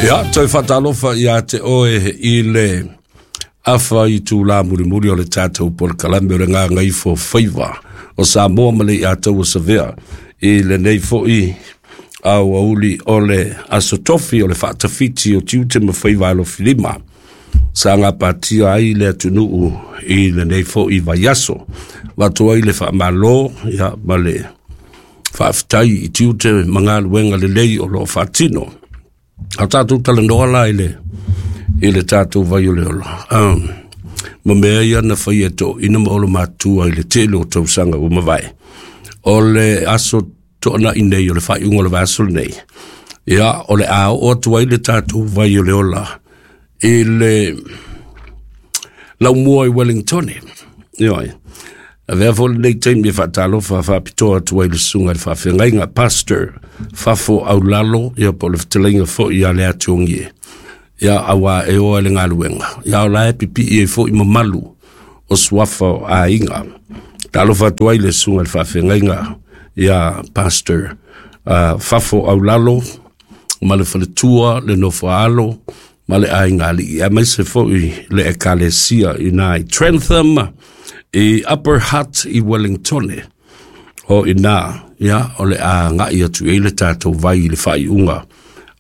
Ia, toe faatalofa ia te oe i le afa i tūlā mulimuli o le tatou polokalame o le Gagaifo Faiva o Samoa ma le Iataua Savea i lenei foi aoauli o le Aso Tofi o le faatafiti o tiute ma faiva alofilima sa gapatia ai le atunuu i lenei foi vaiaso. Avatu ai le faamalo ia, ma le faafetai i tiute ma galuega lelei o lo o faatino. A tatou talanoa la i le tatou vai o le ola. Ma mea ia na faia e toeaiina ma olomatua i le tele o tausaga ua mavae. O le aso toanai nei o le faaiuga o le vaiaso lenei, ia, o le a oo atu ai le tatou vai o le ola i le laumua i Wellington. Ioe. Avea foi lenei taimi e faatalofa faapitoa atu ai le susuga i le faafeagaiga Pastor Fafo Aulalo, ia po o le fetalaiga foi ia le Atuogie. Ia auā e oa le galuega. Ia o la e pipii ai foi mamalu o suafa o aiga. Talofa atu ai le susuga i le faafeagaiga ia Pastor Fafo Aulalo ma le faletua le nofoaalo ma le aiga alii aemaise foi le ekalesia i nā i Trentham i Upper Hutt i Wellington. O ina, ia, o le a agai atu ai le tatou vai i le faaiuga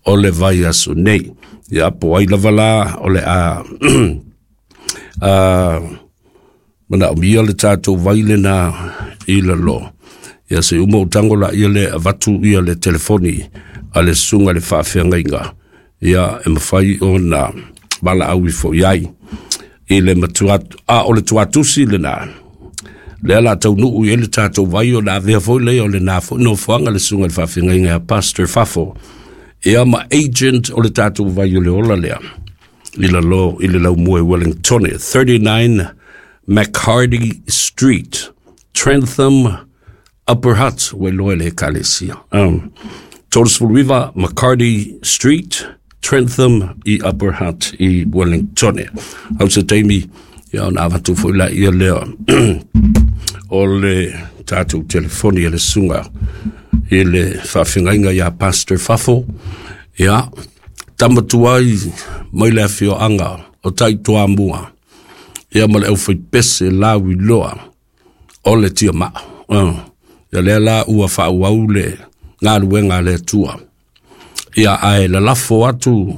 o le vaiaso nei. Ia, po ai lava la o le a manaomia le tatou vai lena i lalo. Ia se uma o tango la ia le avatu ia le telefoni a le susuga i le faafeagaiga. Ia e mafai ona valaau ifo i ai i le matua a o le tuatusi lena. Lea la taunuu i ai le tatou vai o le avea foi lea o lena foi nofoaga le susuga i le faafeagaiga ia Pastor Fafo. Ia ma agent o le tatou vai o le ola lea i lalo i le laumua i Wellington, 39 McHardy Street, Trentham, Upper Hutt, ua iloa e le ekalesia. 39 McCarty Street, Trentham i Upper Hutt i Wellington. Au se taimi, ia ona avatu foi la ia lea o le tatou telefoni e le susuga i le faafeagaiga ia Pastor Fafo. Ia, tama tuai mai le afioaga o Taitoamua, ia ma le aufaipese lauiloa o le tiamaa. Ia lea la ua faaauau le galuega a le Atua. Ia ae lalafo atu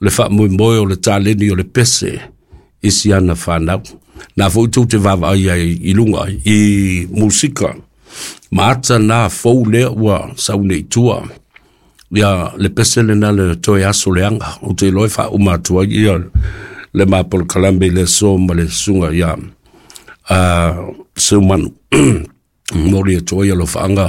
le faamoemoe o le taleni o le pese i si ana whanau. Nā foi tou te vaavaai ai i lunga i musika. Ma ata nā fou lea ua sau nei i tua. Ia le pese lena le toe aso leaga. Ou te iloa e faauma atu ai ia le ma polokalame i le aso ma le susuga ia Seumanu. Momoli atu ai alofaaga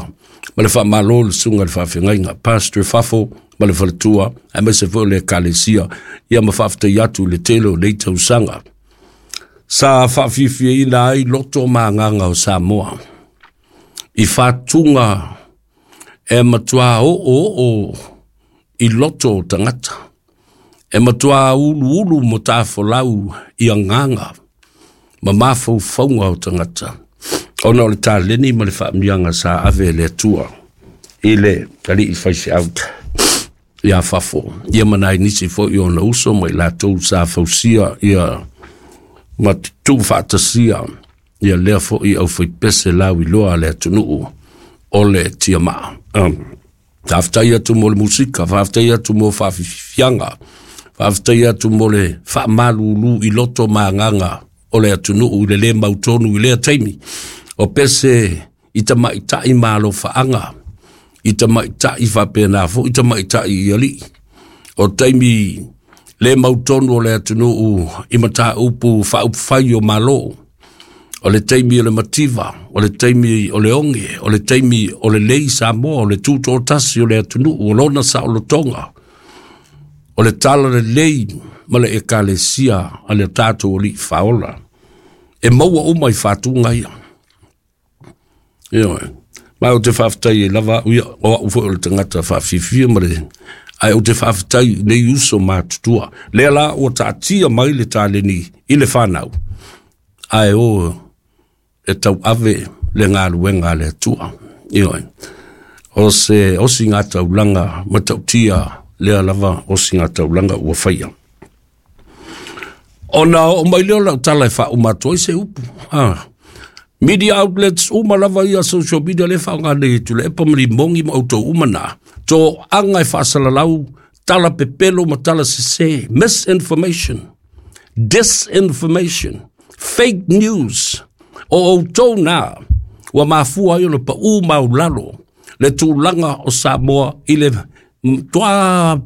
ma le faamalo i le susuga i le faafeagaiga Pastor Fafo ma le faletua aemaise foi o le ekalesia ia ma faafetai atu i le tele o nei tausaga sa faafiafiaina ai loto ma agaga o Samoa i fatuga e matua oo oo i loto o tagata e matua uluulu mo tafolau i agaga ma mafaufauga o tagata ona o le taleni ma le faamiaga sa ave e le Atua i le alii faifeau ia Fafo ia ma nai nisi foi o ona uso ma i latou sa fausia ia ma tuufaatasia ia lea foi aufaipese lauiloa a le atunuu o le tiamaa. Faafetai atu mo le musika, faafetai atu mo faafiafiaga, faafetai atu mo le faamalulu i loto ma agaga o le atunuu i le lē mautonu i lea taimi. O pese i tamaitai ma alofaaga, i tamaitai faapena foi tamaitai i alii. O taimi le mautonu o le atunuu i mataupu faaupufai o Malo. O le taimi o le mativa, o le taimi o le oge, o le taimi o le lei Samoa, o le tutoatasi o le atunuu, o lona saolotoga, o le tala lelei ma le ekalesia a le tatou alii faaola. E maua uma i fatuga ia. Ioe. Ma ou te faafetai ai lava au ia, o au foi o le tagata faafiafia ma le ae ou te faafetai i nei uso matutua. Lea la ua taatia mai le taleni i le whanau, ae o e tauave le galuega a le Atua. Ioe. O se osi ngā taulanga matautia lea lava osigataulaga ua faia. Ona oo mai lea o lau tala e faauma atu ai se upu. Media outlets uma lava ia social media lea e faaaoga nei e Tuilaepa ma Limogi ma outou uma na, toaga e faasalalau tala pepelo ma tala sesē, misinformation, disinformation, fake news. O outou na ua mafua ai ona paū maulalo le tulaga o Samoa i le toa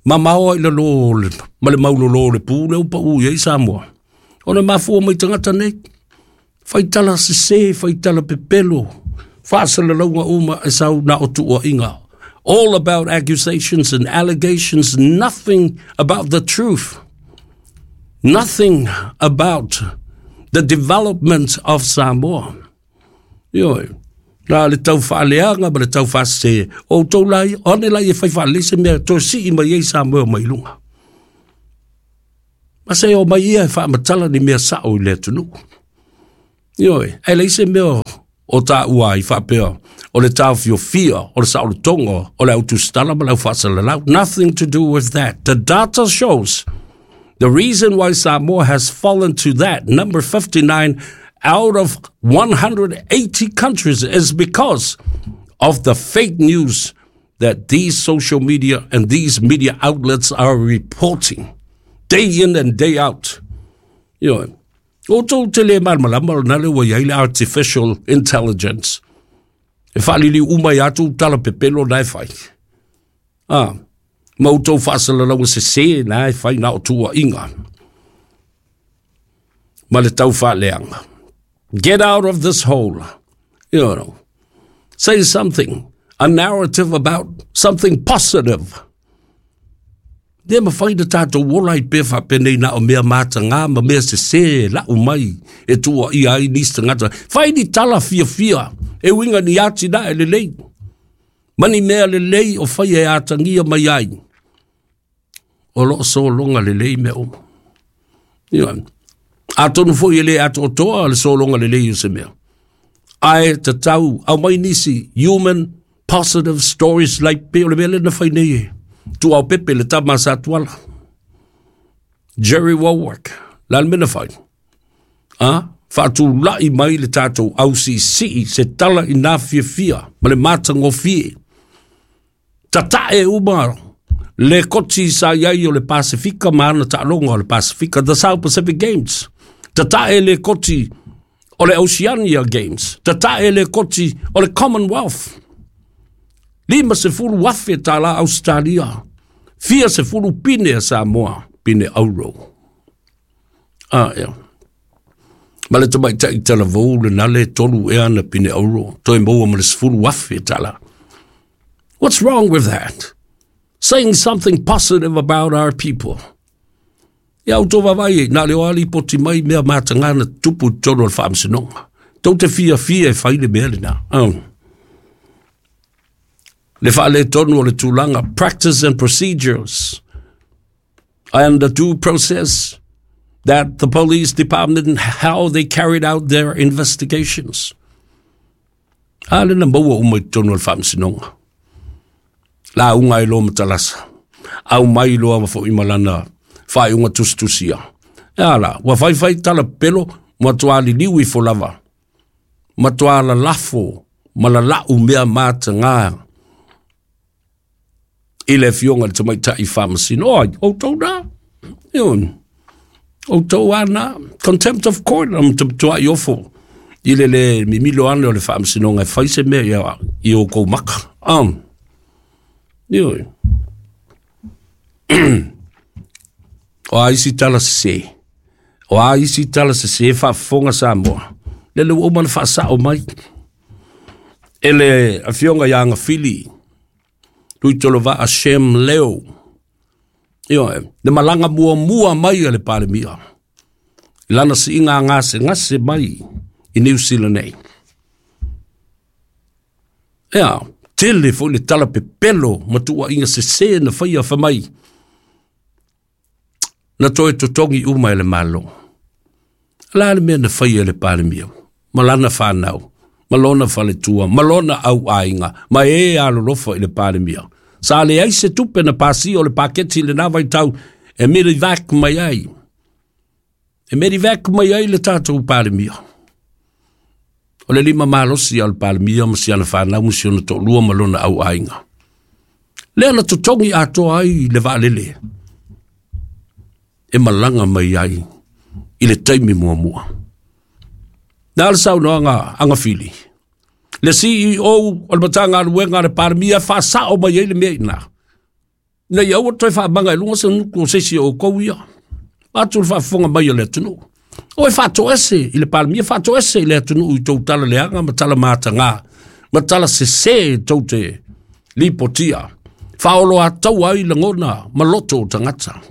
mamao i lalo ma le maulolo o le pu lea ua paū i ai Samoa. Ona mafua mai tagata nei, faitala sesē, faitala pepelo, faasalalauga uma e sau na o tuuaiga. All about accusations and allegations, nothing about the truth. Nothing about the development of Samoa. Ioe, na le tau faaleaga ma le tau faasese, o outou la ia, o ane la ia fai faalelei se mea toe sii mai ai Samoa mai luga. Ma se o mai ia e faamatala ni mea sao i le atunuu. Ioe, ae leai se mea o taua ai faapea o le taofiofia o le saolotoga o le autusitala ma le aufaasalalau. Nothing to do with that. The data shows the reason why Samoa has fallen to that number 59 out of 180 countries is because of the fake news that these social media and these media outlets are reporting day in and day out. Outou te le malamalama o lena le ua i ai le artificial intelligence. E faaliliu uma i atu tala pepelo na e fai. Ma outou faasalalauga sesē na e fai na o tuuaiga ma le tau faaleaga. Get out of this hole. Say something, a narrative about something positive. Le mafai na tatou ola ai pea faapenei na o mea matagā ma mea sesē lau mai e tuuaia ai nisi tagata. Fai ni tala fiafia e uiga ni atinae lelei ma ni mea lelei o faia e atagia mai ai. O loo sologa lelei mea uma. Ioe. Atonu foi e le atoatoa le sologa lelei o se mea. Ae tatau aumai nisi human positive stories like pei o le mea lea na fai nei e Tuaopepe le tama a Satuala. Jerry Wallwork, le a le mea na fai? Faatulai mai le tatou ausiisii se tala i nā fiafia ma le matagofie. Tatae uma le koti sa i ai o le Pasefika ma ana taaloga o le Pasefika, the South Pacific Games. Tatae le koti o le Oceania Games. Tatae le koti o le Commonwealth. 50,000 tālā Ausetalia, fia sefulu pine a Samoa, pine auro. Ia. Ma le tamaitai talavou lena le tolu ea ana pine auro, toe maua ma le 10,000 tālā. What's wrong with that? Saying something positive about our people. Ia outou vaavaai, na o le o lava lipoti mai mea matagā na tutupu i totonu o le faamasinoga. Tou te fiafia e fai le mea lena. Le faaletonu o le tulaga, practice and procedures and the due process that the police department, how they carried out their investigations. A lena maua uma i totonu o le faamasinoga. Lauga ai loa matalasa. Au mai loa ma foi ma lana faaiuga tusitusia. E a la, ua faifai tala pepelo, matua liliu ifo lava. Matua lalafo ma lalau mea matagā i le afioga i le tamaitai faamasino. Oi, outou na. Ioe. Outou a na. Contempt of court, na matuai ofo i le le mimilo ane o le faamasinoga e fai se mea ia i oukou maka. Ioe. O a isi tala sesē? O a isi tala sesē faafofoga Samoa? Lele ua uma ona faasao mai e le afioga ia Agafili Tuitolovaa Shem Leo. Ioe, le malaga muamua mai a le Palemia i lana siiga gasegase mai i Niu Sila nei. Ea, tele foi le tala pepelo ma tuuaiga sesē na faia fai mai na toe totogi uma e le Malo. O le a le mea na faia e le Palemia ma lana fanau, ma lona faletua, ma lona auaiga, ma e alolofa i le Palemia? Sa leai se tupe na pasia o le paketi i lena vaitau e medevac mai ai. E medevac mai ai le tatou Palemia. O le lima malosi a le Palemia ma si ana fanau ma si ona toalua ma lona auaiga. Lea na totogi atoa ai le vaalele e malaga mai ai i le taimi muamua. Na le saunoaga agafili. Le CEO o le Matagaluega a le Palemia faasao mai ai le mea i ina. Ina ia aua toe faamaga i luga se nuku o se isi o outou ia. Atu le faafofoga mai a le atunuu. O e faatoese i le Palemia, faatoese i le atunuu i tou tala leaga ma tala mataga, ma tala sese tou te lipotia. Faaoloataua ai lagona ma loto o tagata.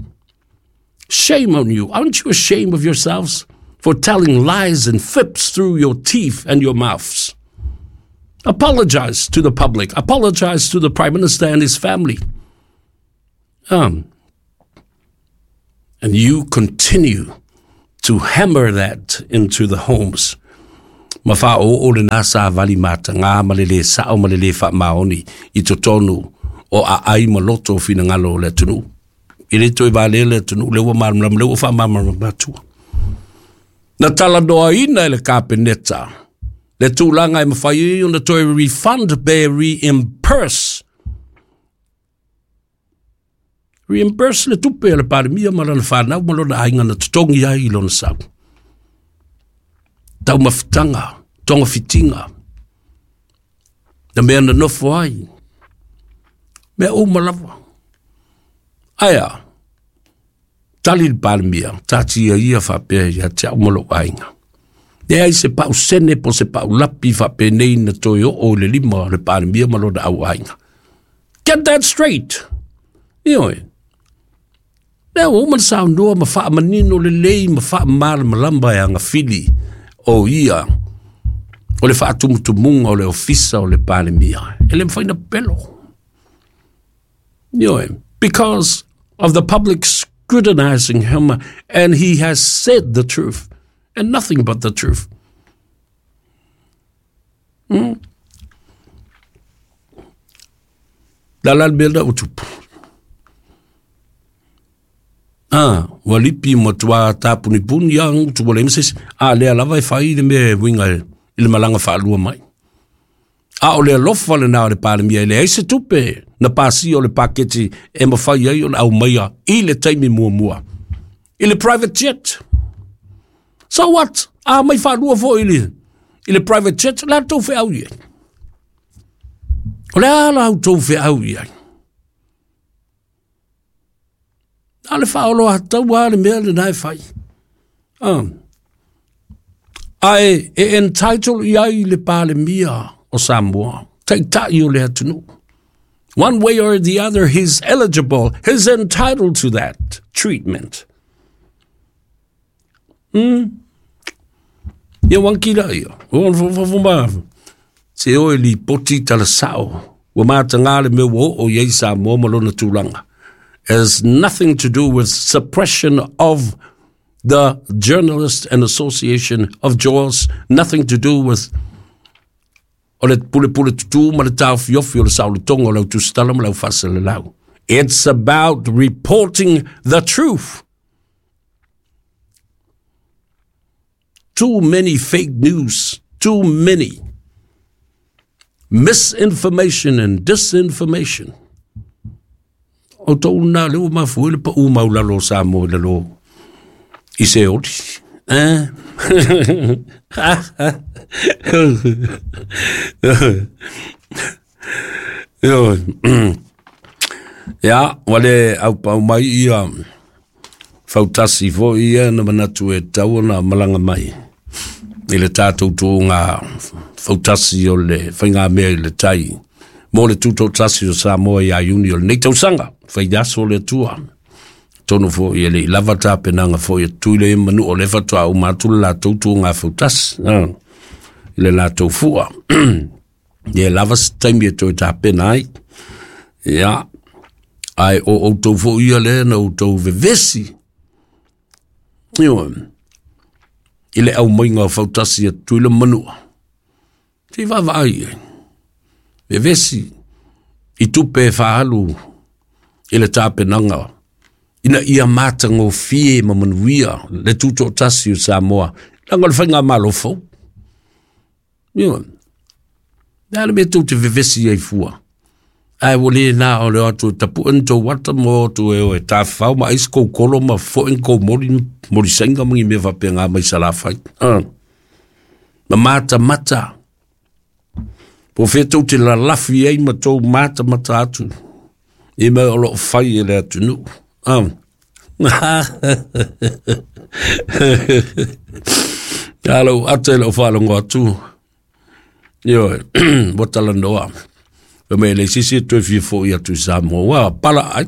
Shame on you. Aren't you ashamed of yourselves for telling lies and fibs through your teeth and your mouths? Apologize to the public. Apologize to the Prime Minister and his family. And you continue to hammer that into the homes. Ma faaoo lena savali mataga ma le lē sao ma le lē faamaoni i totonu o aai ma loto o finagalo o le atunuu. E le toe valea le atunuu, lea ua malamalama, lea ua faamalamalama atua. Na talanoaina e le Kapeneta le tulaga e mafai ai ona toe refund pe reimburse reimburse le tupe a le Palemia ma lana fanau ma lona aiga na totogi ai i lona sau. Taumafataga, togafitiga, na mea na nofo ai, mea uma lava. Ae a? Tali le Palemia, taatia ia faapea ia te au ma lou aiga. Leai se pau sene po se pau lapi faapenei na toe oo i le lima o le Palemia ma lona au aiga. Get that straight! Ioe. Lea ua uma na saunoa ma faamanino lelei ma faamalamalama e agafili o ia o le faatumutumuga o le ofisa o le Palemia. E le mafai na pepelo. Ioe. Because of the public scrutinizing him and he has said the truth and nothing but the truth. La la le mea lena ua tupu. Ah, ua lipi matua tapunipuni a ngutu ua leai ma se isi. A lea lava e fai le mea e uiga i le malaga faalua mai. A o le alofa lena o le Palemia e leai se tupe na pasia o le paketi e mafai ai ona aumaia i le taimi muamua. I le private jet. So what? A mai faalua foi i le private jet, la tou feau i ai. O le a la outou feau i ai? Na o le faaoloataua lava le mea lena e fai. Ah. Ae e entitle i ai le Palemia o Samoa, taitai o le atunuu. One way or the other, he's eligible, he's entitled to that treatment. Ia wankila ia. O fofo se o e lipoti tala sao. Ua mataga le mea ua oo i ai Samoa ma lona tulaga. It has nothing to do with suppression of the Journalist and Association of Jaws, nothing to do with o le pulepule tutū ma le taofiofi o le saolotoga o le autusitala ma le aufaasalalau. It's about reporting the truth. Too many fake news, too many misinformation and disinformation. O tou na lea ua mafua ai le pau maulalo o Samoa i lalo i Seoli. Eh? Ia, ua le aupau mai ia fautasi foi ia na manatu e tatau ona malaga mai i le tatou tuuga fautasi o le faigamea i le tai mo le tutoatasi o Samoa ia Iuni o lenei tausaga, faiaso o le Atua. Tonu foi e le i lava tapenaga foi a Tutuila ia ma Manua o lea faatoa uma atu le latou tuuga fautasi i le latou fua. Ia e lava se taimi e toe tapena ai. Ia, ae o outou foi ia lea na outou vevesi. Ioe, i le aumaiga o fautasi a Tutuila ma Manua. Se i vaavaai i ai. Vevesi i tupe e faaalu i le tapenaga ina ia matagofie ma manuia le tutoatasi o Samoa, leaga o le faigamalo fou. Ioe. Le a le mea tou te vevesi ai fua? Ae ua le na o le o atu e tapue ni tou ata ma o atu e o e tafafao ma ai se kou kolo ma foe ni kou moli, moli saina ma ni mea faapena mai Salafai. Ma matamata. Po o fea tou te lalafi ai ma tou matamata atu i mea o lo o fai e le atunuu. A lou ata i lau faalogo atu, ioe, ua talanoa. Fai mai e leai se isi e toe fia foi atu i Samoa, ua pala ai.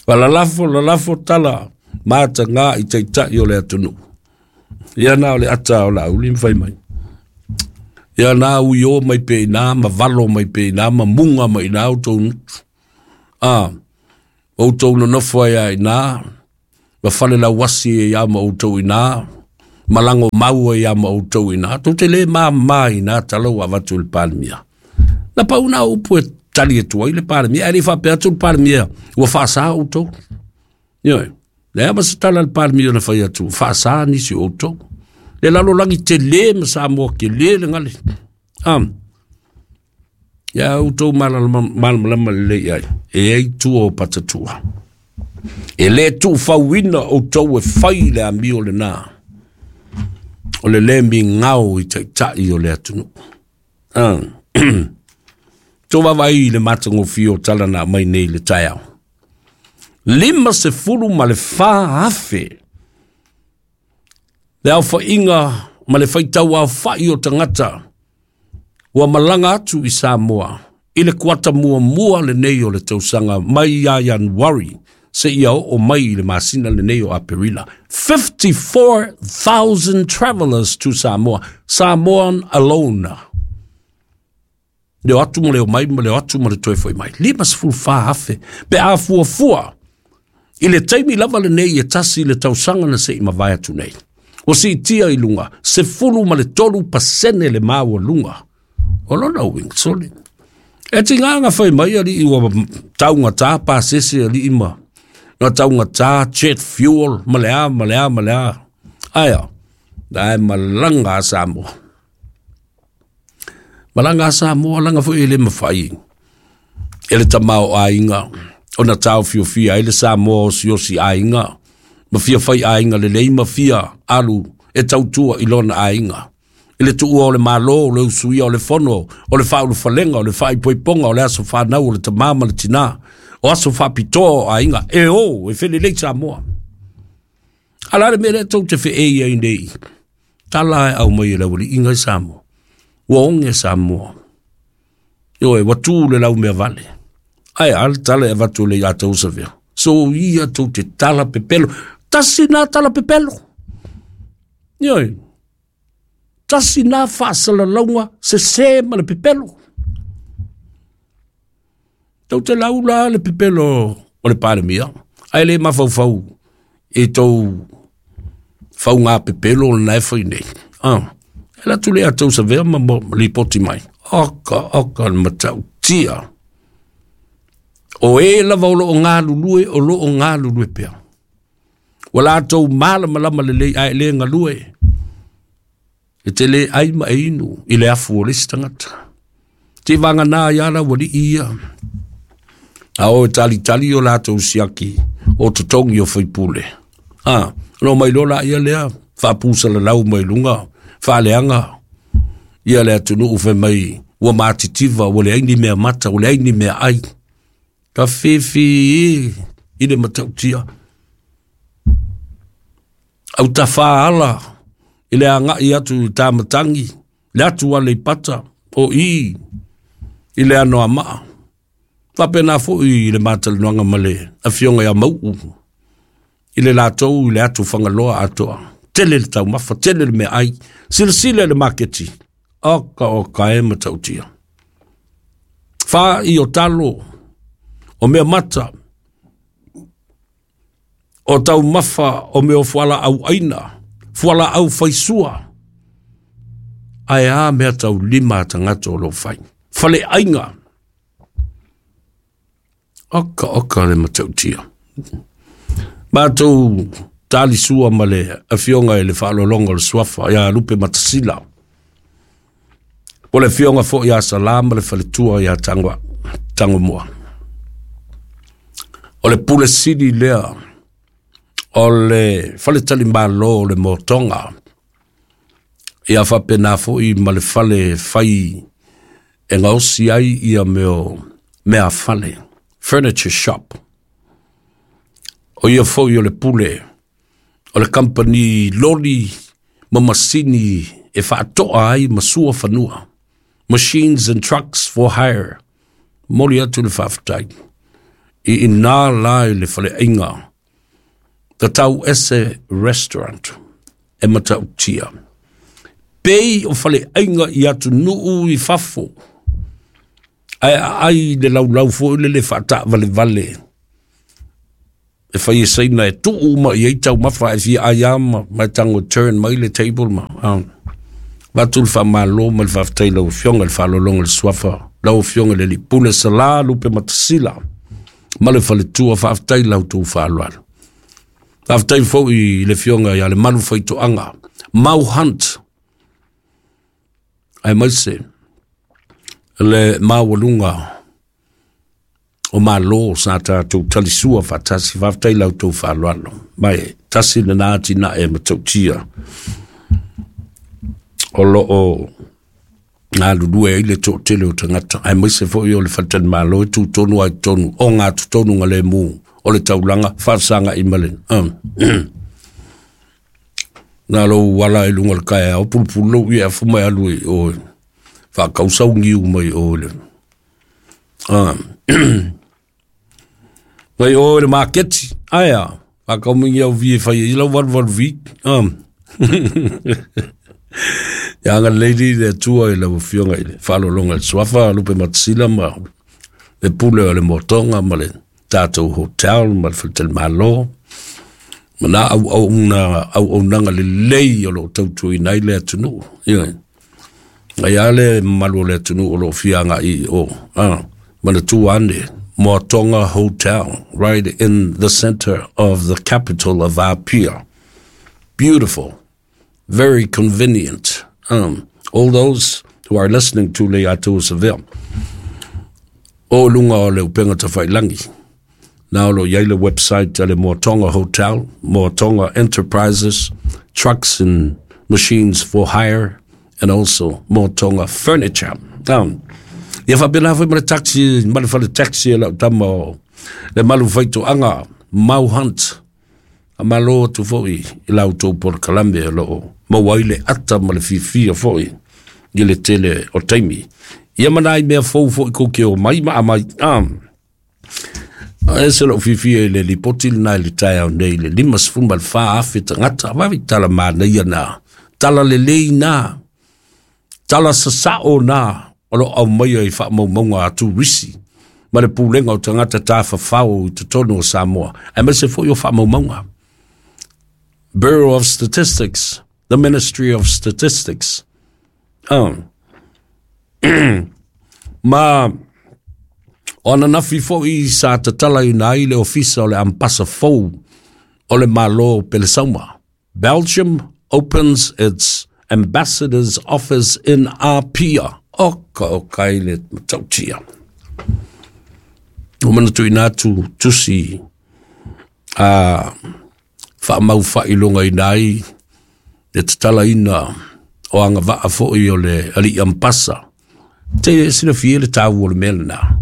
Ua lalafo, lalafo tala mataga i taitai o le atunuu. Ia na o le ata o Laauli ma fai mai. Ia na uio mai pea i ina ma valo mai pea i ina ma muga mai i ina outou gutu. Outou nonofo ai lava i ina ma falelauasi ai lava ma outou i ina, ma lagomau ai lava ma outou i ina. Tou te le mama i na tala ua avatu e le Palemia. Na pau na o upu e tali atu ai le Palemia, ae le i faapea atu le Palemia ua faasa outou. Ioe, leai ma se tala a le Palemia na fai atu, ua faasa nisi o outou. Le lalolagi tele ma Samoa tele le gale. Ia outou malamalama lelei i ai, e i ai tua o patatua. E le tuufauina outou e fai le amio lena, o le le migao i taitai o le atunuu. Tou vaavaai i le matagofie o tala na aumai nei i le taeao. 54,000 le aofaiga ma le faitau aofai o tagata ua malaga atu i Samoa i le kuata muamua lenei o le tausaga mai ia Ianuari seia oo mai i le masina lenei o Aperila. 54,000 travelers to Samoa, Samoan alone. Le o atu ma le omai ma le o atu ma le toe foi mai. 54,000 pe a fuafua i le taimi lava lenei e tasi le tausaga na se i mavae atu nei. Ua siitia i luga 13% le maualuga o lona uiga sole. E tiga na fai mai alii ua taugata pasese alii ma na taugata jet fuel ma le a ma le a ma le a. Aia, ae malaga a Samoa. Malaga a Samoa laga foi e le mafai e le tamaoaiga ona taofiofia ai le Samoa osiosi aiga ma fia fai aiga lelei ma fia alu e tautua i lona aiga. I le tuua o le Malo, o le usuia o le fono, o le faaulufalega, o le faaipoipoga, o le aso fanau o le tama ma le tina, o aso faapitoa o aiga, e o, e felelei Samoa. A o le a le mea lea tou te feei ai nei? Tala e aumai e le aualiiga i Samoa. Ua oge Samoa. Ioe, ua tu le laumea vale. Ae a le tala e avatu e le ia tou savea. So ia tou te tala pepelo. Tasi nā tala pepelo. Ioe, tasi nā faasalalauga sesē ma le pepelo. Tou te laula le pepelo o le Palemia, ae le mafaufau i tou fauga pepelo lena e fai nei. E alu atu le ia tou savea ma lipoti mai. Oka, oka, le matautia. O e lava o lo o galulue, o lo o galulue pea. Ua latou malamalama lelei ae le galue. E te le ai ma e inu i le afu o le isi tagata. Te vagana ai ala ualii ia. A o e talitali o latou siaki o totogi o faipule. A, no mai loa laia lea, faapusalalau mai luga, faaleaga ia le atunuu fai mai ua matitiva, ua leai ni mea mata, ua leai ni mea ai. Ka fifi i le matautia. Autafa ala i le agai atu i Tamatangi, le atu Aleipata, o i i le Anoamaa. Faapena foi i le matalanoaga ma le afioga ia Mau'u i le latou i le atu Fagaloa atoa. Tele le taumafa, tele le meaai, silasila i le maketi, oka oka e matautia. Fā i o talo, o mea mata, o taumafa o mea o fualaau aina, fualaau faisua. Ae a meataulima a tagata o lo o fai. Faleaiga. Oka oka le matautia. Matou talisua ma le afioga i le faaaloaloga o le Suafa ia Lupe Matasila. O le afioga foi ia Sala ma le faletua ia Tagomua. O le pule sili lea o le faletalimalo o le Motoga. Ia faapena foi ma le fale fai e gaosi ai ia mea fale, furniture shop. O ia foi o le pule o le company loli ma masini e faatoa ai ma sua fanua. Machines and trucks for hire. Moli atu le faafetai. I ina la i le faleaiga, The Tau Ese Restaurant, e matautia. Pei o faleaiga i atunuu i fafo, ae aai le laulau foi le le faataavalevale e fai e saina e tuu uma i ai taumafa e fia ai ama ma e tago turn mai le table ma avatu le faamalo ma le faafetai i lau Afioga i le faaaloaloga o le Suafa, lau Afioga i le Alii Pule Sala Lupe Matasila ma le faletua, faafetai i la outou faaaloalo. Faafetai foi i le Afioga ia Lemalu Faitoaga, Mau Hunt, aemaise le maualuga o malo sa tatou talisua faatasi. Faafetai i la outou faaaloalo. Ma e tasi lena atinae matautia o lo o galulue ai le toatele o tagata, aemaise foi o le faletalimalo e tutonu ai totonu o gatotonu galemu o le taulaga faafesagai ma le na lou ala i luga o le kaeao pulupulu lou ia afu mai alu i o faakausauniu mai o le mai o le maketi aia faakaumingi au vie fai ai lau valuvalu vi ia agalelei le Atua i lau Afioga i le faaaloaloga i le Suafa Lupe Matasila ma le pule o le Motoga ma le tatou hotel ma le faletalimalo ma na auaunaga lelei o lo o tautuaina ai le atunuu. Ioe. Ai a le mamalu o le atunuu o lo o fia agai i o. Manatua ane, Motoga Hotel, right in the center of the capital of Apia. Beautiful, very convenient. All those who are listening to Le Atua Seville, o lunga o le upenga tawhailangi. Na o lo iai le website a le Motoga Hotel, Motoga Enterprises, trucks and machines for hire, and also Motoga Furniture. Ia faapena foi ma le taxi, ma le fale taxi e lau tama o le malu faitoaga, Mau Hunt. A malo atu foi i la outou polokalame o lo o maua ai le ata ma le fiafia foi i le tele o taimi. Ia ma nai mea fou foi kou ke o mai ma amai. A ese lou fiafia i le lipoti lena i le taeao nei i le 54,000 tagata. Vaai tala manaia na, tala lelei na, tala sasao na o lo o aumaia i faamaumauga a turisi ma le pulega o tagata tafafao i totonu o Samoa, aemaise foi o faamaumauga. Bureau of Statistics, the Ministry of Statistics. Ma o ananafi foi sa tatalaina ai le ofisa o le Ambasa fou o le Malo Pelesauma. Belgium opens its ambassador's office in Apia. Oka oka i le matautia. O manatuina atu tusi a faamau faailogaina ai le tatalaina o agavaa foi o le alii Ambasa. Te silafia le taua o le mea lena.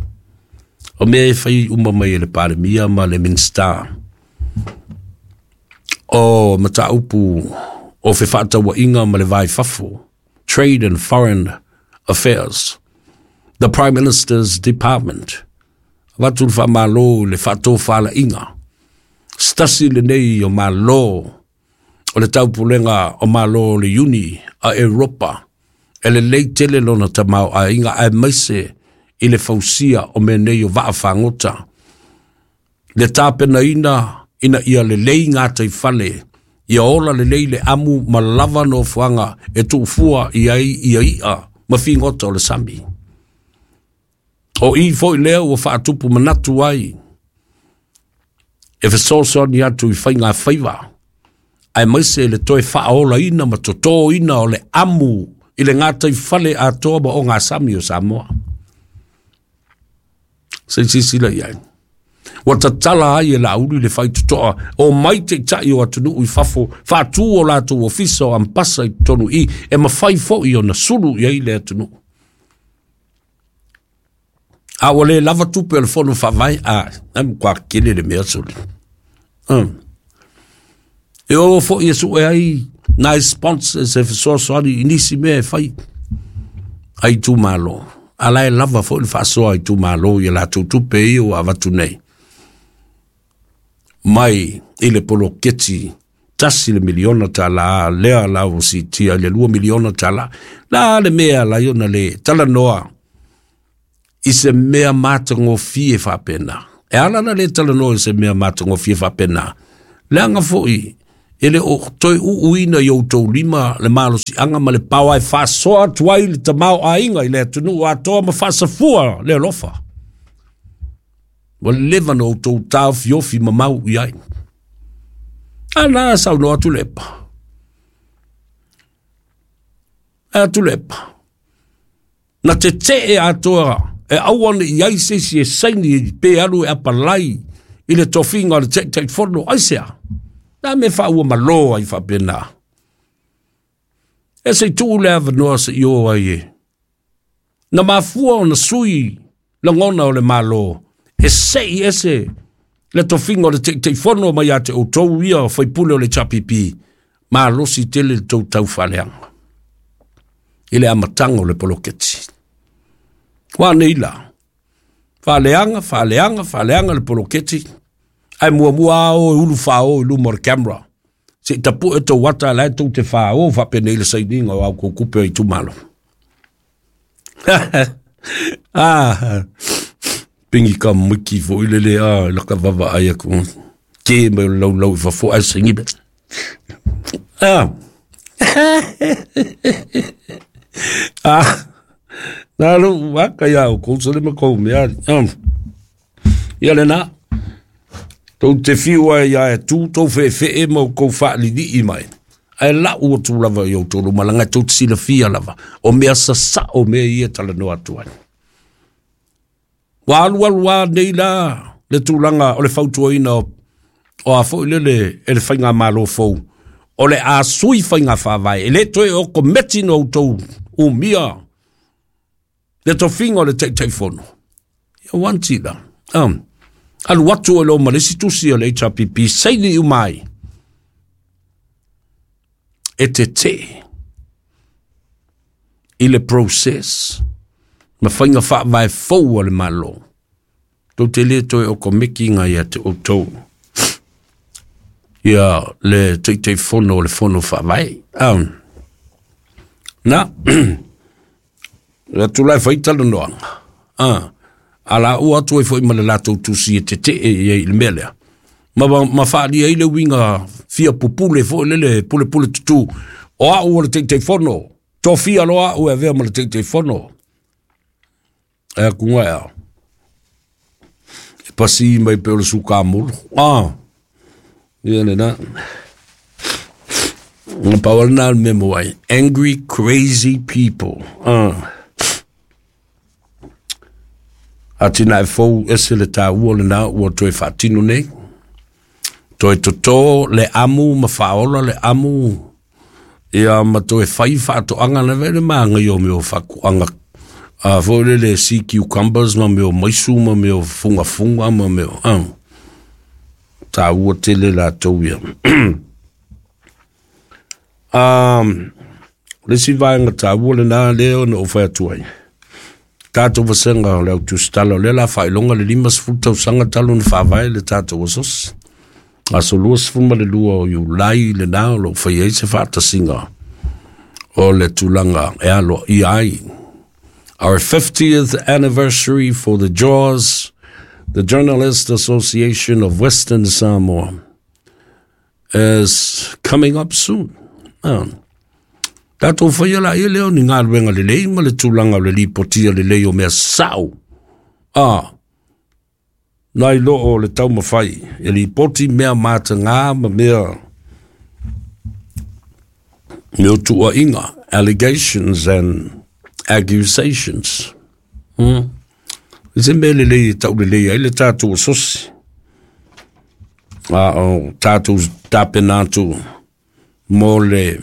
O mea e fai uma mai e le Palemia ma le Minista o mataupu o fefaatauaiga ma le vai fafo, Trade and Foreign Affairs, the Prime Minister's Department. Avatu le faamalo i le faatofalaiga. Se tasi lenei o malo o le taupulega o malo o le Iuni a Europa e lelei tele lona tamaoaiga aemaise i le fausia o mea nei o vaa fagota. Le tapenaina ina ia lelei gataifale Ia ola lelei le amu ma lava nofoaga e tuufua i ai ia i'a ma figota o le sami. O i foi lea ua faatupu manatu ai e fesoasoani atu i faiga faiva, aemaise le toe faaolaina ma totoina o le amu i le gataifale atoa ma ogasami o Samoa. Se i silasila i ai. Ua tatala ai e Laauli le faitotoa o mai taitai o atunuu i fafo, faatu o latou ofisa o ampasa i totonu i, e mafai foi ona sulu i ai le atunuu. A ua le lava tupe o le fono faavae, a, e matua tele le mea soli. E o foi e sue ai nai sponsors e fesoasoani i nisi mea e fai a itumalo. A la e lava foi le faasoa a itumalo i a latou tupe ia ua avatu nei mai i le poloketi $1 miliona lea la ua siitia i le $2 miliona. La le mea la i ona le talanoa i se mea matagofie faapena. E ala na le talanoa i se mea matagofie faapena, leaga foi e le o toe uuina i outou lima le malosiaga ma le paoa e faasoa atu ai le tamaoaiga i le atunuu atoa ma faasafua le alofa. Ua leva na outou taofiofi mamau i ai. A na saunoa atu le epa. E atu le epa. Na tetee atoa e aua ne i ai se isi e saini pe alu e apalai i le tofiga o le Taitaifono. Aisea? Na me faaua malo ai faapena. E se i tuu le avanoa se i o ai e. Na mafua ona sui lagona o le Malo e sei ese le tofiga o le Taitaifono mai ia te outou ia faipule o le HRPP, malosi tele le tou taufaaleaga i le amataga o le poloketi. Ua nei la, faaleaga, faaleaga, faaleaga le poloketi, ae muamua ao e ulu fao i luma o le camera. Se i tapue tou ata la e tou te fao faapenei le sainiga o au kou kupe o itumalo. Ah, pingi ka miki foi lele a la ka vava ai aku. Ke mai o lau lau i fafo ai saini be. Ah. Ah. Nā lo waka ia o kou sole ma kou mea. Ia le nā. Tou te fiu ai ia e tū tou whewhee ma o kou whaalili'i mai. Ae lau atu lava i outou luma leaga e tou te silafia lava. O mea sasao mea ia e talanoa atu ai. Ua alualu a nei la le tulaga o le fautuaina o a foi lele e le faigamalo fou. O le a sui faiga faavae. E le toe o kometi na outou umia le tofiga o le Taitaifono. Ia wanti la. Alu atu o lo ma le isi tusi o le HRPP, saini uma ai. E tetee i le process ma faiga faavae fou a le Malo. Tou te le toe o komeki ia te outou ia le Taitaifono o le fono faavae. Na, le atu la e fai talanoaga. A la ua atu ai foi ma le latou tusi e tetee i ai i le mea lea. Ma faalia ai le uiga fia pupule foi lele pulepule tutu. O au o le Taitaifono, tofia loa au e avea ma le Taitaifono. E akunga ea. E pasi mai pe o le sukamulu. Ia le na. Na pau na le memo ai. Angry, crazy people. Atina e fou ese le tāua le nā ua toe faatino nei. Toe toto le amu ma faaola le amu. Ia ma toe fai faatoaga na vele maga o mea o fakuaga. A foi le le sea cucumbers ma mea o maisu ma mea o fugafuga ma mea o. Tāua tele latou ia. Le isi vaega tāua lenā lea ona ou fai atu ai. Tātou vasega o le au tusitala o lea la faailoga le 50 tausaga talu ona faavae le tātou asosi. Aso 22 o Iulai lenā o loo fai ai se faatasiga o le tulaga e aloaia ai. Our 50th anniversary for the JAWS, the Journalist Association of Western Samoa. is coming up soon. Tatou faia laia lea o ni galuega lelei ma le tulaga o le lipotia lelei o mea sa'o, nai lo o le taumafai e lipoti mea matagā ma mea tuuaiga, allegations and accusations. Se mea lelei e taulelei ai le tatou asosi, a o tatou tapena atu mo le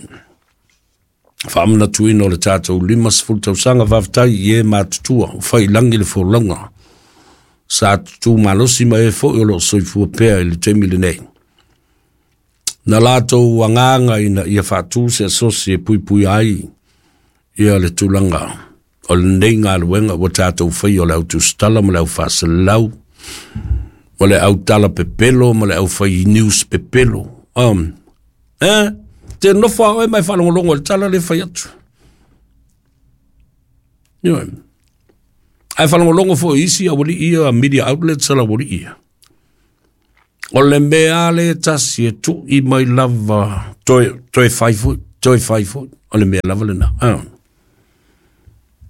faamanatuina o le tatou 50 tausaga. Faafetai i e matutua o faiilagi le folauga sa tutu malosi ma e foi o loo soifua pea i le taimi lenei. Na latou agaga ina ia faatu se asosi e puipui ai ia le tulaga o lenei galuega ua tatou faia, o le autusitala ma le au faasalau ma le autala pepelo ma le aufai news pepelo. Te nofo a oe mai faalogologo i le tala le fai atu. Ioe. Ae faalogologo foi isi aualii ia, media outlets a laualii ia. O le mea le tasi e tu'i mai lava, toe, toe fai foi, toe fai foi. O le mea lava lena.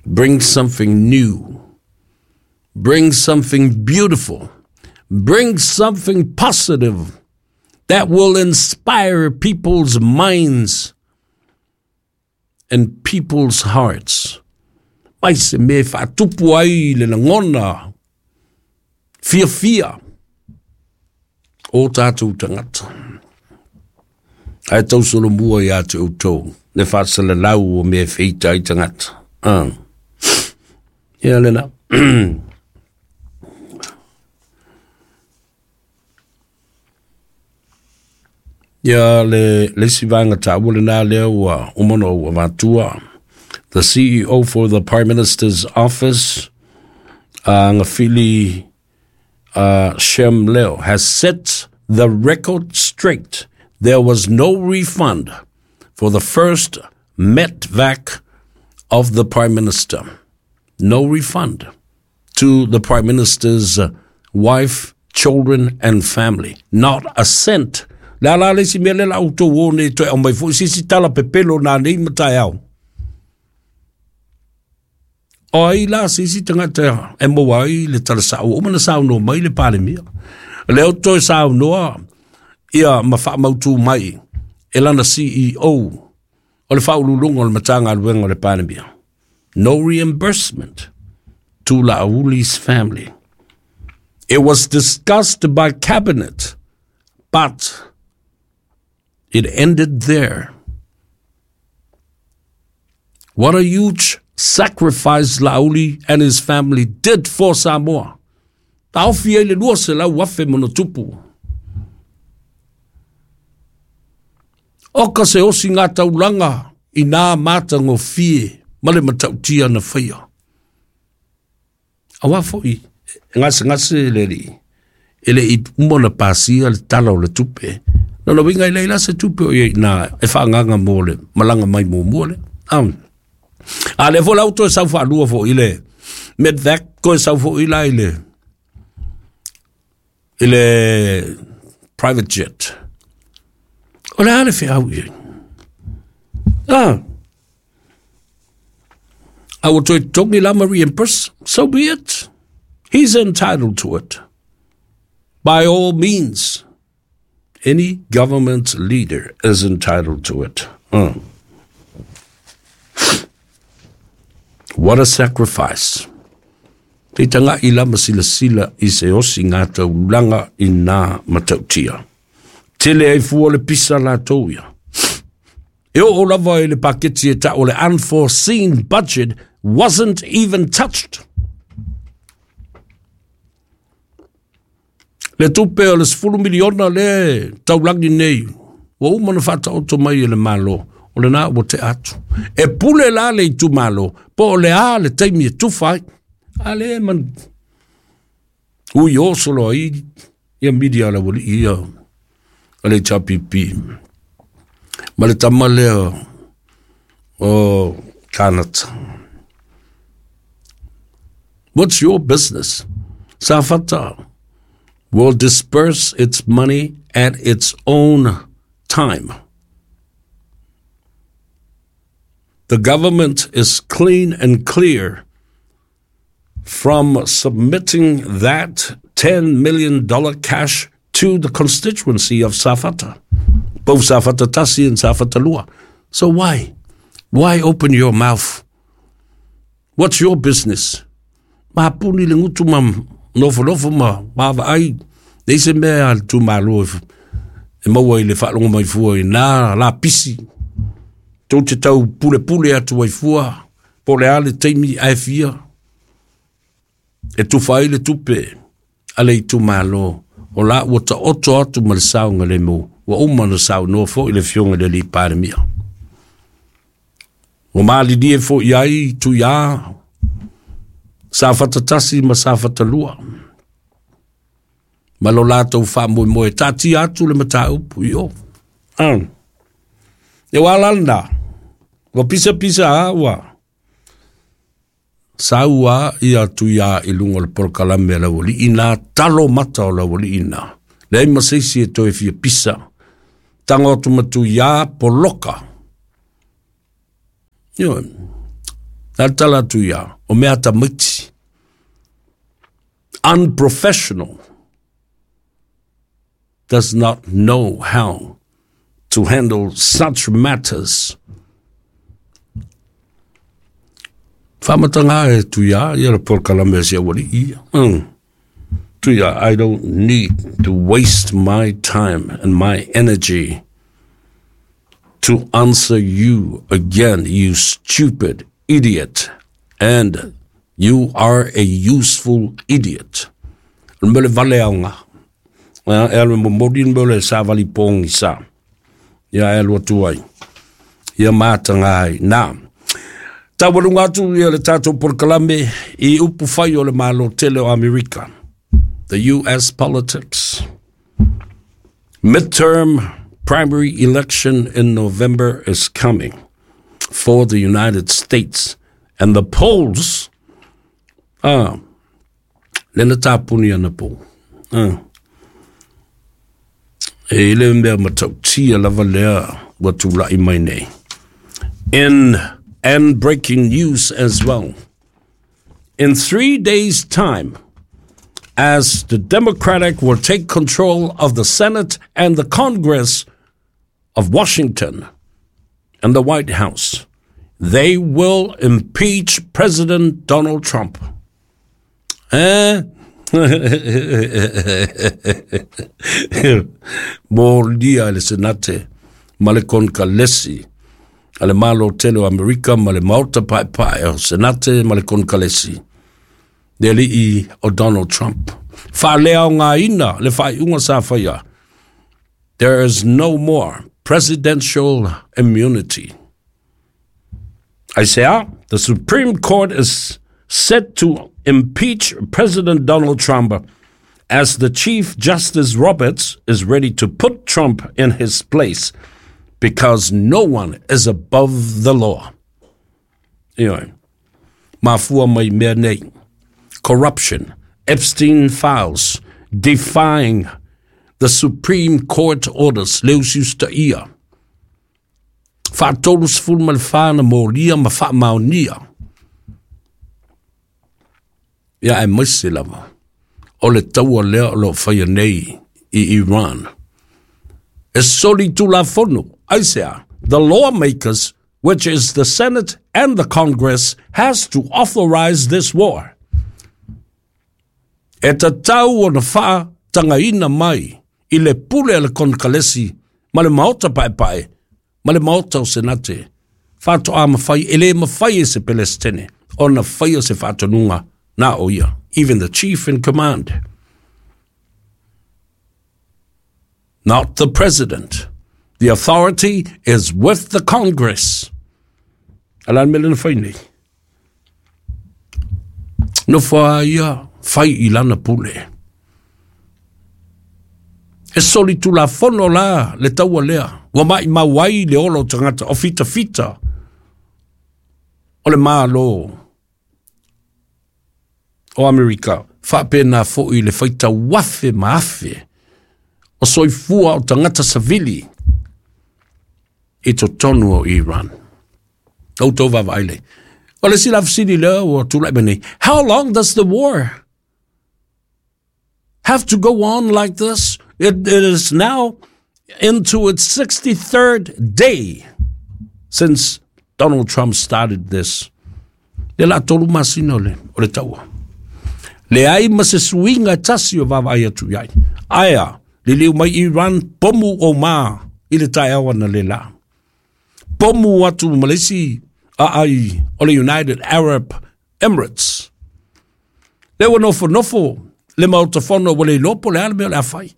Bring something new. Bring something beautiful. Bring something positive that will inspire people's minds and people's hearts. Mai se mea e faatupu ai le lagona fiafia o tatou tagata. Ae tausolomua ia te outou le faasalalau o mea e feita ai tagata. Ia lena. Ia le isi vaega taua lena lea ua uma ona ou avatua. The CEO for the Prime Minister's Office, Agafili Shem Leo, has set the record straight. There was no refund for the first METVAC of the Prime Minister. No refund to the Prime Minister's wife, children, and family. Not a cent. Le ala le isi mea le la outou o nei toe aumai foi sisi tala pepelo na nei ma taeao. O ai la se isi tagata e maua ai le tala sa'o, ua uma ona saunoa mai le Palemia. Lea o toe saunoa ia ma faamautū mai e lana CEO o le faauluuluga o le Matagaluega o le Palemia. No reimbursement to Laauli family. It was discussed by cabinet, but it ended there. What a huge sacrifice Laauli and his family did for Samoa. Taofi ai le 200,000 ma ona tupu. O ka se osi ngā taulaga i nā matagofie ma le matautia na faia. Auā foi e gasegase le alii, e le i uma ona pasia le tala o le tupe. Lona uiga e leai la se tupe o i ai i ina e faaagaaga mo le malaga mai muamua lea. A lea foi la ua toe sau faalua foi i le Medvac, toe sau foi la i le private jet. O le a le feau i ai? A ua toe totogi la ma reimburse, so be it. He's entitled to it. By all means, any government leader is entitled to it. What a sacrifice. Te taga'i la ma silasila i se osi ngā taulaga i nā matautia. Tele ai fua le pisa latou ia. E oo lava i le paketi e ta'u o le unforeseen budget wasn't even touched. Le tupe o le $10 miliona le taulagi nei, ua uma ona faataoto mai e le Malo, o lena ua tea atu. E pule la le itumalo, po o le a le taimi e tufa ai. A le man ui o solo ai ia media la aualii ia a le HRPP. Ma le tama lea o Kanata. What's your business? Safata will disperse its money at its own time. The government is clean and clear from submitting that $10 million cash to the constituency of Safata, both Safata Tasi and Safata Lua. So why? Why open your mouth? What's your business? Mapuni le ngutu ma nofonofo ma vaavaai leai se mea a le itumalo e maua i le faalogo mai fua i nā lapisi tou te tau pulepule atu ai fua po o le a le taimi ae fia e tufa ai le tupe a le itumalo o la ua taoto atu ma le saogalemu ua uma ona saunoa foi le Afioga i le Alii Palemia. Ua malilie foi ai Tuiā, Safata 1 ma Safata 2 ma lo latou faamoemoe taatia atu le mataupu i o. Ah. E ua ala lena, ua pisapisa a ua sau a ia Tuiā i luga o le polokalame a le aualii nā talo mata o le aualii nā. Leai ma se isi e toe fia pisa. Tago atu ma Tuiā poloka. Ioe. Na le tala atu ia, o mea tamaiti. Unprofessional does not know how to handle such matters. Whamatanga e tuia, ia le polokalame a si aualii ia. Tuia, I don't need to waste my time and my energy to answer you again, you stupid idiot. And you are a useful idiot. O le mea le vale aoga. E alu e momoli le mea o le savali pogisa. Ia e alu atu ai. Ia mataga ai. Na, taualuga atu ia le tatou polokalame i upu fai o le Malo tele o Amerika. The US politics. Midterm primary election in November is coming for the United States. And the polls, le na tāpuni ana pō. E le mea matautia lava lea ua tula'i mai nei. In and breaking news as well. In 3 days' time, as the Democratic will take control of the Senate and the Congress of Washington and the White House, they will impeach President Donald Trump. Eh? Molia le Senate ma le Konkalesi a le Malo tele o Amerika ma le Maota Paepae o Senate ma le Konkalesi le alii o Donald Trump. Faaleaogaina le faaiuga sa faia. There is no more presidential immunity. Aisea, the Supreme Court is set to impeach President Donald Trump as the Chief Justice Roberts is ready to put Trump in his place because no one is above the law. Ioe. Mafua mai mea nei. Corruption, Epstein files, defying the Supreme Court orders, le usiusitaia. 34 na molia ma faamaonia. Ia aemaise lava o le taua lea o lo o faia nei i Iran. E soli tulafono, aisea, the lawmakers, which is the Senate and the Congress, has to authorize this war. E tatau ona faatagaina mai i le pule a le Konekalesi ma le Maota Paepae ma le Maota o Senate faatoa mafai e le mafai e se Pelesitene ona faia se faatonuga na o ia, even the chief in command. Not the president. The authority is with the Congress. A le a le mea lea na fai nei? Nofo a ia fai i lana pule. E soli tulafono la le taua lea. Ua maimau ai le ola o tagata o fitafita o le Malo o Amerika. Faapena foi le faitau afe ma afe o soifua o tagata savili. i totonu o Iran. Outou vaavaai lea. O le isi la fesili lea ua tulai mai nei, how long does the war have to go on like this? It is now into its 63rd day since Donald Trump started this. Le la 3 masina o le taua. Leai ma se suiga e tasi o vaavaai atu i ai. Aea, liliu mai Iran, pomu o ma i le taeao ana le la. Pomu atu ma le isi aai o le United Arab Emirates. Le ua nofonofo le Maota Fono ua le iloa po o le a le mea o le a fai.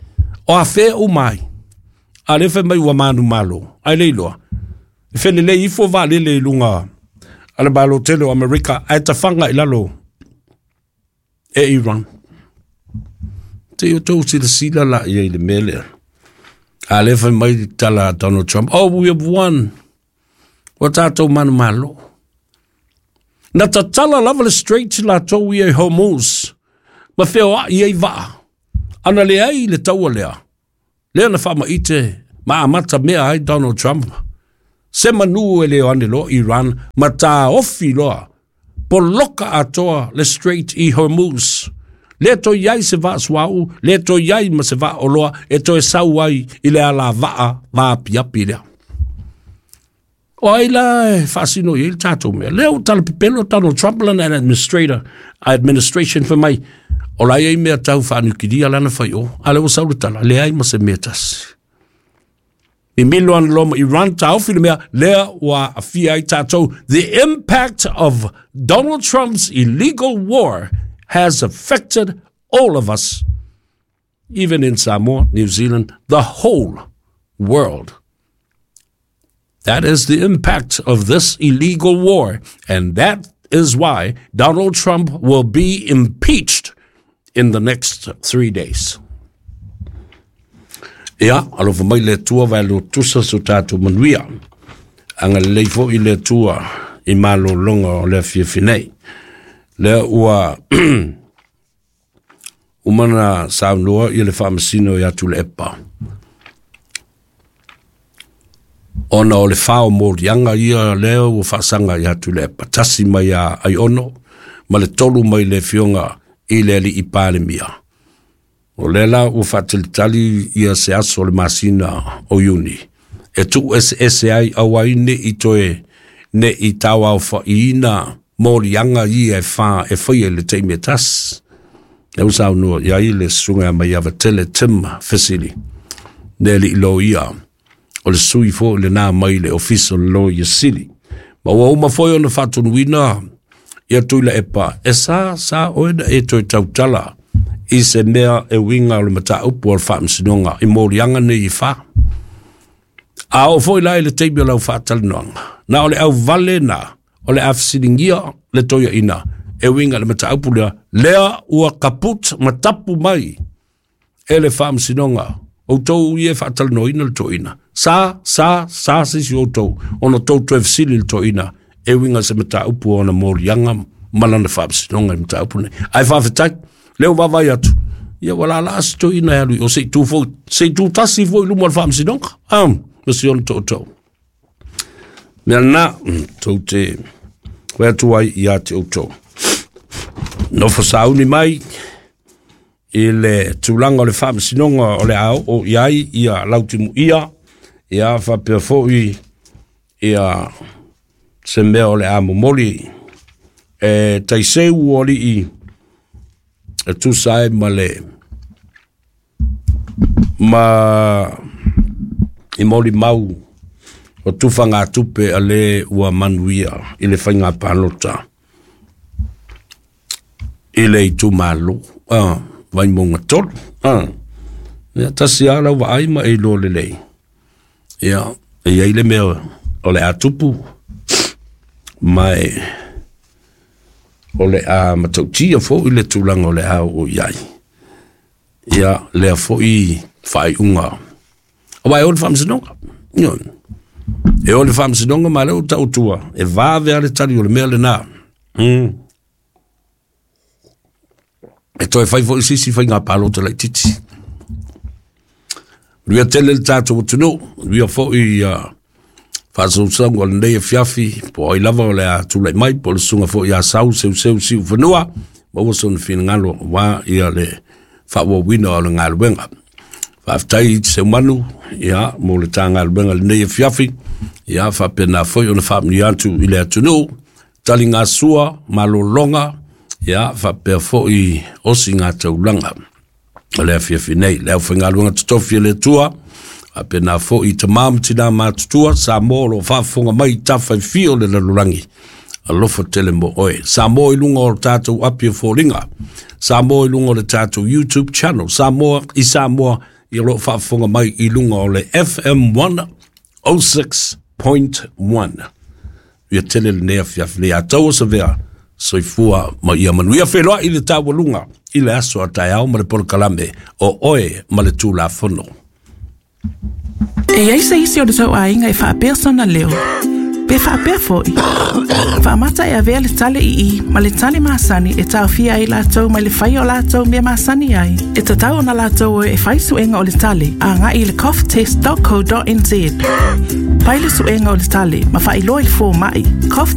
O afea uma ai. A lea fai mai ua manumalo, ai le iloa. E felelei ifo vaalele i luga a le Malo tele o Amerika ae tafaga i lalo e Iran. Se i outou silasila la i ai i le mea lea. A lea fai mai le tala a Donald Trump, oh, we have won. Ua tatou manumalo. Na tatala lava le Strait latou ia i Hormuz, ma feoai ai vaa. Ana leai le taua lea, lea na faamaite ma amata mea ai Donald Trump. Se manu e le o ane loa Iran ma taofi loa poloka atoa le Strait i Hormuz. Le toe i ai se vaa suauu, le toe i ai ma se vaa oloa e toe sau ai i le alavaa vaapiapi lea. O ai la e faasino i ai le tatou mea. Lea ua talapepelo Donald Trump lana administrator, administration fai mai, o la e i ai mea tau faaniukilia lana fai o, a lea ua sau le tala, leai ma se mea tasi. Mimilo ana loa ma Iran taofi le mea, lea ua aafia ai tatou. The impact of Donald Trump's illegal war has affected all of us, even in Samoa, New Zealand, the whole world. That is the impact of this illegal war, and that is why Donald Trump will be impeached in the next 3 days. Ia, alofa mai le Atua vae lotusa so tatou manuia. Agalelei foi le Atua i malologa o le afiafi nei. Lea ua uma na saunoa ia le Faamasino ia Tuilaepa. Ona o le fao moliaga ia lea ua faasaga ia Tuilaepa, 1 mai ia Aiono ma le 3 mai le afioga i le alii Palemia. O lea la ua faatalitali ia se aso o le masina o Iuni e tuueseese ai aua ai ne'i toe ne'i tauaofaiina moliaga ia e fa e faia i le taimi e tasi. Lea ua saunoa i ai le susuga ia Maiava Tele Tim Fesili, le alii loia, o le sui foi lena mai le Ofisa o le Loia Sili. Ma ua uma foi ona faatonuina ia Tuilaepa, e sa sa oe na e toe tautala i se mea e uiga o le mataupu o le Faamasinoga i moliaga nei e fa. A oo foi la i le taimi o lau faatalanoaga, na o le auvale na o le a fesiligia le toeaina e uiga i le mataupu lea, lea ua kaput ma tapu mai e le Faamasinoga. Outou ia e faatalanoaina le toeaina. Sa, sa, sa se isi o outou ona tou toe fesili i le toeaina e uiga i se mataupu o ona moliaga ma lana faamasinoga i mataupu nei. Ae faafetai, lea ua vaavaai atu, ia ua laalaa se toeaina e alu i o se i tu foi, se i tu tasi foi i luma o le Faamasinoga. Ah, ma si ona tootoo. Mea lena, tou te koe atu ai ia te outou. Nofo sauni mai i le tulaga o le Faamasinoga o le a oo i ai ia Lautimuia, ia faapea foi ia se mea o le a momoli e taiseu o alii e tusa ai ma le ma i molimau o tufagatupe a le ua manuia i le faiga palota i le itumalo Vaimauga 3. Ia tasi lava lau vaai ma e iloa lelei. Ia, e i ai le mea o le a tupu, ma e o le a matautia foi le tulaga o le a oo i ai. Ia, lea foi faaiuga. Aua e o le Faamasinoga. Ioe. E o le Faamasinoga ma lea ua tautua, e vave lava le tali o le mea lena. E toe fai foi se isi faiga palota laitiiti. Manuia tele le tatou atunuu, manuia foi Faasausauga o lenei afiafi, po o ai lava o le a tulai mai, po o le susuga foi ia Sau Seuseu Siufanua, maua sona finagalo aua le faaauauina o le galuega. Faafetai i Seumanu, ia, mo le ta galuega i lenei afiafi, ia, faapena foi ona faamanuia atu i le atunuu, taligasua, malologa, ia, faapea foi osiga taulaga o le afiafi nei. Le aufaigaluega totofi a le Atua, faapena foi i tama ma tina matutua, Samoa o lo o faafofoga mai i tafa e fia o le lalolagi, alofa tele mo oe. Samoa i luga o le tatou api o foliga, Samoa i luga o le tatou YouTube channel, Samoa i Samoa i o lo o faafofoga mai i luga o le FM 106.1. Ia tele lenei afiafi nei a taua savea, soifua ma ia manuia. Feiloai i le taualuga i le aso a taeao ma le polokalame o Oe ma le Tulafono. E i ai se isi o le tou aiga e faapea sona leo, pe faapea foi. Faamata e avea le tale ii ma le tale masani e taofia ai latou mai le faia o latou mea masani ai. E tatau ona latou o e fai suega o le tale agai i le coughtest.co.nz. Fai le suega o le tale ma faailoa i le fomai. Cough.